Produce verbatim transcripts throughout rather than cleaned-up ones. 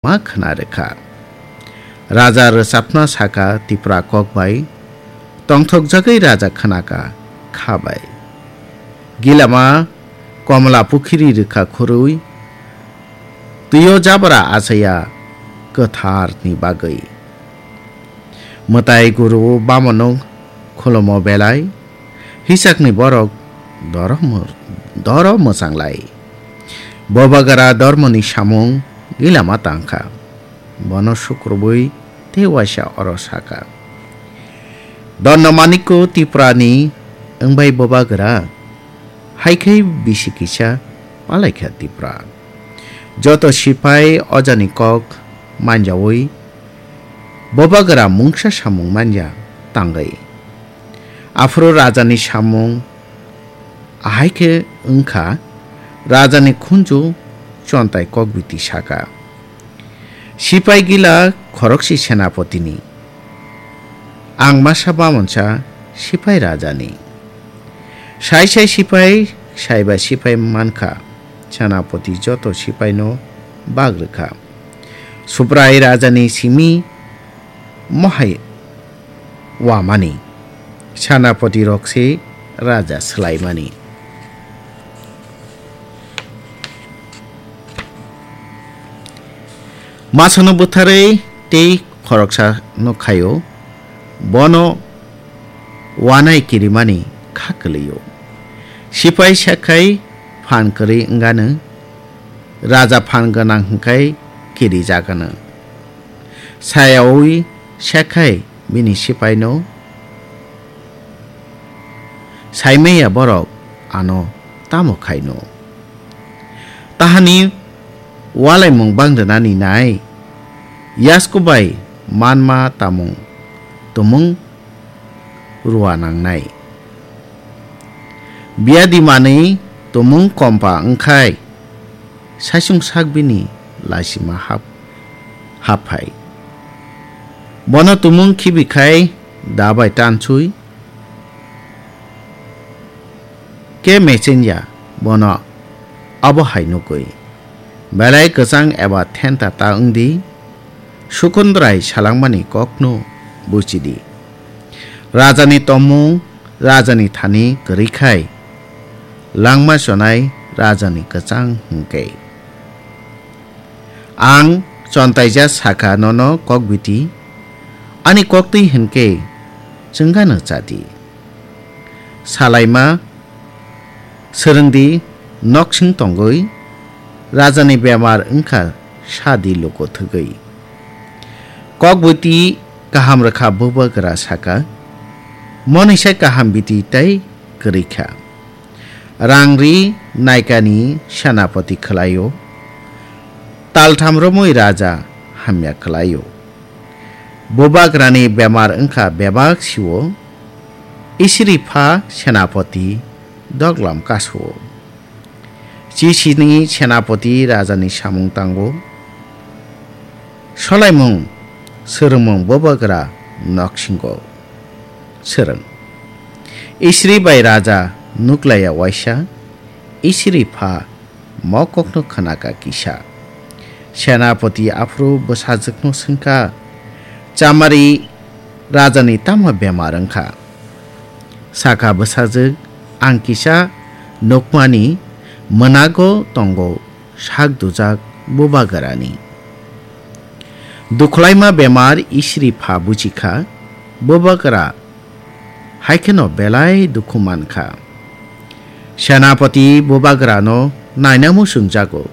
ma khna rwkha. Raja rwchapna saka Tipra kok bai, tongthokjagwi raja khnaka kha bai. Gilama Komla pukhiri rwkha khurui, twio jabra achaya kwtharni bagwi. Mwtai guru bamono khulumo belai, hisakni borok doro mw-, doro mwchanglai. Bobagra dormoni samung gilama tangkha. Bono sukrubui tei waisa oro saka. Donno manikko Tiprani wngbai Bobagra, hai khe bisi kisa palaikha Tipra. Joto sipai ojani kok manjaui Bobagra mungsa samung manya tangwi. Aphuru rajani samung ahai khe wngkha, rajani khunju Chontai kokbiti saka. Sipai gila khorokse senapotini. Ang masa bamonsa sipai rajani. Sai sai sipai, saiba sipai mankha. Senapoti joto sipaino bag rwkha. Subrai rajani simi mohai wamani. Senapoti rokse raja swlaimani. Masano bwtharwi tei khoroksa no khaio, bono wanai kirimani kha kwlwio. Sipai sekhai phan kwrwi wngano, raja phan gwnang hwnkhe kirijagano. Sayaui sekhai bini sipaino saimaya borok ano tamo khaino. Tahani walaimung bang rwnani nai, yasku bai manma tamung tumung rua nangnai. Biyadi manwi tumung kompa wngkhai, saisung sak bini laisima hap-, happhai. Bono tumung khibikhai da bai tansui, ke mechenya bono abo hai nukwi. Belai kwchang eba thenta ta wngdi, Sukundrai salangmani kokno buchidi. Rajani tomung, rajani thani kwrwi khai, langma chonai rajani kwchang hwnkhe. Ang chontaija sakha nono kokbiti, ani koktwi hwnkhe chwngano chadi. Salaima swrwngdi noksing tongwi, rajani bemar wngkha sadi luko thwgwi. Kokbiti kaham rwkha Bubagra saka, monisa kaham biti tei kwrwi kha. Rang ri naikani senapoti khwlaio, taltham romwi raja hamya khwlaio. Bubagrani bemar wngkha bebak sio, isiri pha senapoti doglam kaso. Chisini senapoti rajani samung tango. Solaimung, swrwngmung Bubagra noksingo. Swrwng. Isri bai raja nuklaiya waisa, isri pha mokokno khwnaka kisa. Senapoti aphuru bwsajwkno swngkha, Chamari rajani tamo bemar wngkha? Sakha bwsajwk, ang kisa nukmani mwnago tongo sak dujak Bubagrani. Dukhlaima bemar isri pha buchikha, Bubagra hai kheno belai dukhu mankha. Senapoti Bubagrano naina muchungjago,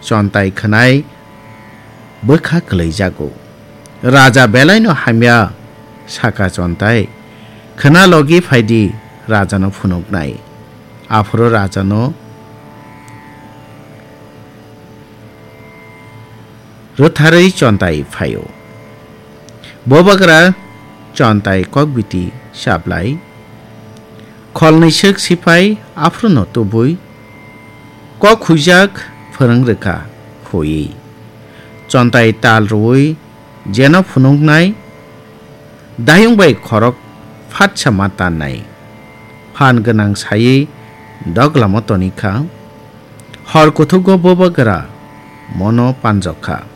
chontai khwnai bwkha kwlaijago. Raja belaino hamya sakha chontai, khwna logi phaidi rajano phunuknai. Aphuru rajano rwtharwi chontai phaio. Bubagra chontai kokbiti chaplai, kholnwi swk sipai aphuruno tubui, kok huijak phwrwng rwkha huiwi. Chontai tal rwui jeno phunuknai, dayung bai khorok phatsa ma tannai. Phan gwnang saiwi doglamo tonikha. Hor kuthugo Bubagra mono panjokha.